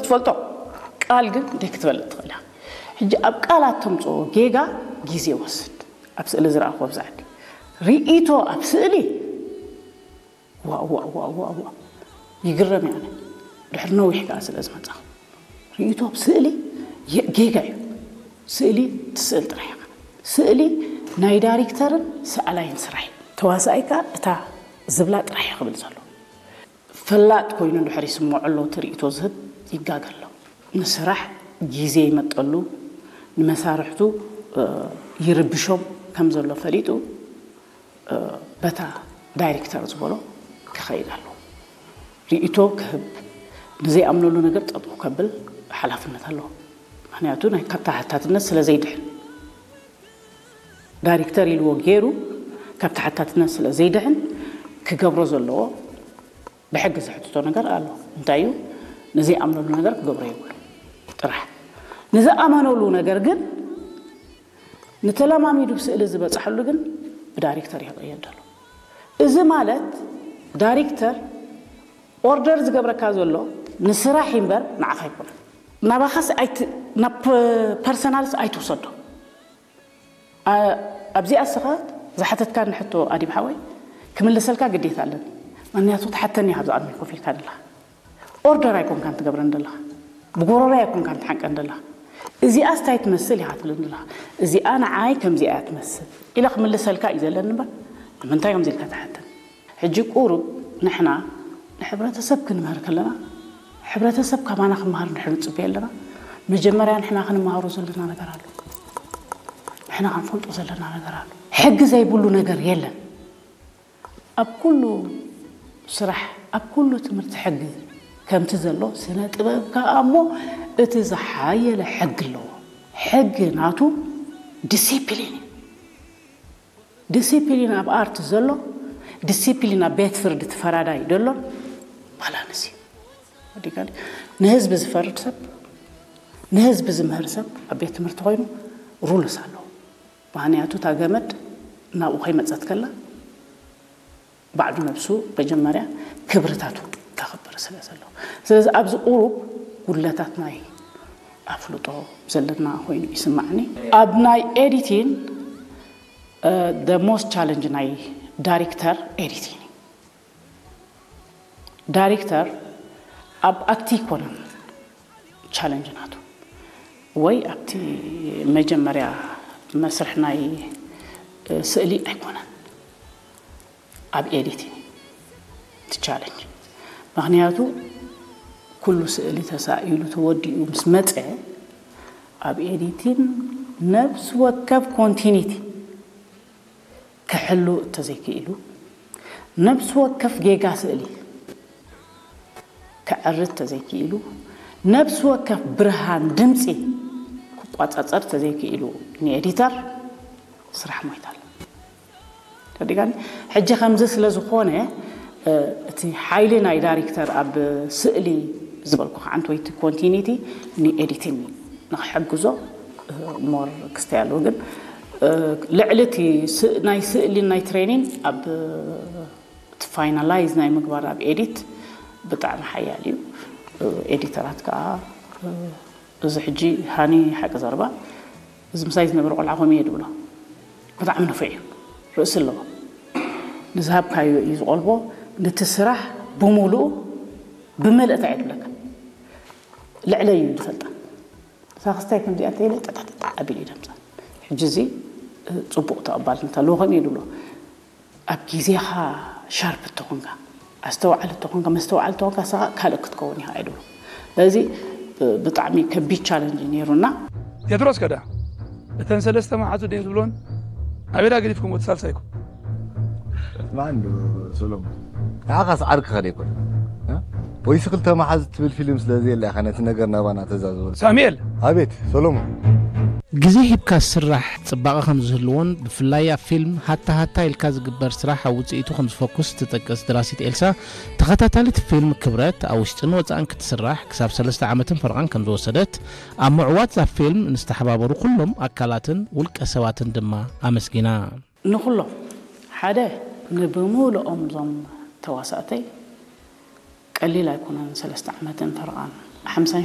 ትፈልጦ። ቃል ግን ደይ ክትበልጥ ትኽእል ኢኻ። ሕጂ ኣብ ቃላት ተምፅኦ ጌጋ ግዜ ይወስድ። ኣብ ስእሊ ዝረኣኹዎ ብዛዕዲ ርእይቶ ኣብ ስእሊ ዋእ ዋእ ዋእ ዋእ ዋእ ይግረም እየ ኣነ። ድሕሪ ነዊሕ ከኣ ስለ ዝመጻኹ ርእይቶ ኣብ ስእሊ የ- ጌጋ እዩ። ስእሊ ትስእል ጥራሕ ኢኻ። ስእሊ ናይ ዳይሬክተርን ሰኣላይን ስራሕ እዩ። ተዋሳኣይ ከኣ እታ ዝብላ ጥራሕ እዩ ክብል ዘሎ። ፈላጥ ኮይኑ እንድሕር ይስምዖ ኣሎ እቲ ርእይቶ ዝህብ ይጋገ ኣሎ። ንስራሕ ግዜ ይመጠሉ፣ ንመሳርሕቱ ይርብሾም ከም ዘሎ ፈሊጡ በታ ዳይሬክተር ዝበሎ ክኸይድ ኣለዎ። ርእይቶ ክህብ፣ ንዘይኣምነሉ ነገር ጠጠው ከብል ሓላፍነት ኣለዎ። ምክንያቱ ናይ ካብ ተሓታትነት ስለ ዘይድሕን፣ ዳይሬክተር ኢልዎ ገይሩ ካብ ተሓታትነት ስለ ዘይድሕን ክገብሮ ዘለዎ ብሕጊ ዘሕትቶ ነገር ኣሎ። እንታይ እዩ? ንዘይኣምነሉ ነገር ክገብሮ የብሉ ጥራሕ። ንዝኣመነሉ ነገር ግን ንተለማሚዱ ስእሊ ዝበፅሐሉ ግን ብዳይሬክተር ይቕየድ ኣሎ። እዚ ማለት ዳይሬክተር ኦርደር ዝገብረካ ዘሎ ንስራሕ እምበር ንዓኻ ኣይኮነን። ናባኻስ ኣይት- ናብ ፐርሰናልስ ኣይትውሰዶ። ኣ- ኣብዚኣ እስኻ ዝሓተትካኒ ሕቶ ኣዲብ ሓወይ ክምልሰልካ ግዴታ ኣለኒ። ምክንያቱ ትሓተኒ ኢኻ ኣብዚ ቅድሚ ኮፍ ኢልካ ደለኻ። ኦርደር ኣይኮንካን ትገብረን ደለኻ፣ ብጎረሮይ ኣይኮንካን ትሓንቀን ደለኻ። እዚኣ ስታይ ትመስል ኢኻ ትብለኒ ደለኻ። እዚኣ ንዓይ ከምዚኣ እያ ትመስል ኢለ ክምልሰልካ እዩ ዘለኒ እምበር ንምንታይ ከምዚ ኢልካ ትሓተኒ? ሕጂ ቁሩብ ንሕና ንሕብረተሰብ ክንምህር ከለና ሕብረተሰብ ካባና ክመሃር እንድሕር ንፅበዮ ኣለና፣ መጀመርያ ንሕና ክንመሃሮ ዘለና ነገር ኣሎ። ንሕና ክንፈልጦ ዘለና ነገር ኣሎ። ሕጊ ዘይብሉ ነገር የለን። ኣብ ኩሉ ስራሕ፣ ኣብ ኩሉ ትምህርቲ ሕጊ ከምቲ ዘሎ ስነ ጥበብ ከኣ እሞ እቲ ዝሓየለ ሕጊ ኣለዎ። ሕጊ ናቱ ዲሲፕሊን እዩ። ዲሲፕሊን ኣብ ኣርት ዘሎ ዲሲፕሊን ኣብ ቤት ፍርዲ እቲ ፈራዳይ ደሎ ባላንስ እዩ። ንህዝቢ ዝፈርድ ሰብ ንህዝቢ ዝምህር ሰብ ኣብ ቤት ትምህርቲ ኮይኑ ሩልስ ኣለዎ። ምክንያቱ እታ ገመድ ናብኡ ከይመፀት ከላ ባዕሉ ነብሱ መጀመርያ ክብርታቱ ከኽብር ስለ ዘለዎ። ስለዚ ኣብዚ ቁሩብ ጉድለታት ናይ ኣፍልጦ ዘለና ኮይኑ ይስማዕኒ። ኣብ ናይ ኤዲቲን the most challenge ናይ ዳይሬክተር ኤዲቲን እዩ። ዳይሬክተር ኣብ ኣክቲ ይኮነን ቻለንጅ ናቱ ወይ ኣብቲ መጀመርያ መስርሕ ናይ ስእሊ ኣይኮነን፣ ኣብ ኤዲቲን እቲ ቻለንጅ። ምክንያቱ ኩሉ ስእሊ ተሳኢሉ ተወዲኡ ምስ መፀ ኣብ ኤዲቲን ነብሲ ወከፍ ኮንቲኒቲ ክሕሉ እተዘይክኢሉ፣ ነብሲ ወከፍ ጌጋ ስእሊ ክዕርት ተዘይክኢሉ፣ ነብሲ ወከፍ ብርሃን ድምፂ ክቋፃፀር ተዘይክኢሉ ንኤዲተር ስራሕ ሞይታል። ተዲጋኒ ሕጂ ከምዚ ስለ ዝኾነ እቲ ሓይሊ ናይ ዳይሬክተር ኣብ ስእሊ ዝበልኩ ከዓንት ወይ ኮንቲኒቲ ንኤዲቲንግ ንክሕግዞ ሞር ክስተይ ኣለዎ። ግን ልዕሊ እቲ ናይ ስእሊ ናይ ትሬኒንግ ኣብ እቲ ፋይናላይዝ ናይ ምግባር ኣብ ኤዲት ብጣዕሚ ሓያል እዩ። ኤዲተራት ከዓ እዚ ሕጂ ሃኒ ሓቂ ዘረባ እዚ ምሳይ ዝነበረ ቆልዓ ከምኡ እየ ድብሎ። ብጣዕሚ ንፉዕ እዩ። ርእሲ ኣለዎ። ንዝሃብካዮ እዩ ዝቆልቦ። ነቲ ስራሕ ብሙሉኡ ብመልእታ እየ ድብለካ። ልዕለይ እዩ ዝፈልጣ። እዛ ክስታይ ከምዚኣ እንተኢለ ጠጣጣጣ ኣቢሉ እዩ ደምፃ። ሕጂ እዚ ፅቡቕ ተቐባልነት ኣለዎ ከምኡ እዩ ድብሎ። ኣብ ግዜኻ ሻርፕ እተኾንካ ኣስተውዓሊ እተኾንካ መስተውዓሊ እተኾንካ ስኻ ካልእ ክትከውን ኢኻ ኣይድብሎ። ስለዚ ብጣዕሚ ከቢድ ቻለንጅ እዩ ነይሩና። ቴድሮስ ከዳ እተን ሰለስተ መሓዙ ድን ዝብሎን ኣበይ ዳ ገዲፍኩም እቲ ሳልሳይኩም? ማን ዶ ሰሎሞን? ንዓኻስ ዓርክኻ ደይኮን ወይስ ክልተ መሓዙ ትብል ፊልም ስለ ዘየላ ኢኻ ነቲ ነገር ናባና ተዛዝበሉ። ሳሙኤል! ኣቤት ሰሎሞን። ግዜ ሂብካ ዝስራሕ ጽባቐ ከም ዝህልዎን ብፍላይ ኣብ ፊልም ሃታ ሃታ ኢልካ ዝግበር ስራሕ ኣብ ውጽኢቱ ከም ዝፈኩስ ትጠቅስ ደራሲት ኤልሳ፣ ተኸታታሊት ፊልም ክብረት ኣብ ውሽጥን ወጻእን ክትስራሕ ክሳብ ሰለስተ ዓመትን ፈረቓን ከም ዝወሰደት፣ ኣብ ምዕዋት እዛ ፊልም ንዝተሓባበሩ ኩሎም ኣካላትን ውልቀ ሰባትን ድማ ኣመስጊና። ንኹሎም ሓደ ንብሙሉኦም ዞም ተዋሳእተይ ቀሊል ኣይኮነን ሰለስተ ዓመትን ፈረቓን ሓምሳን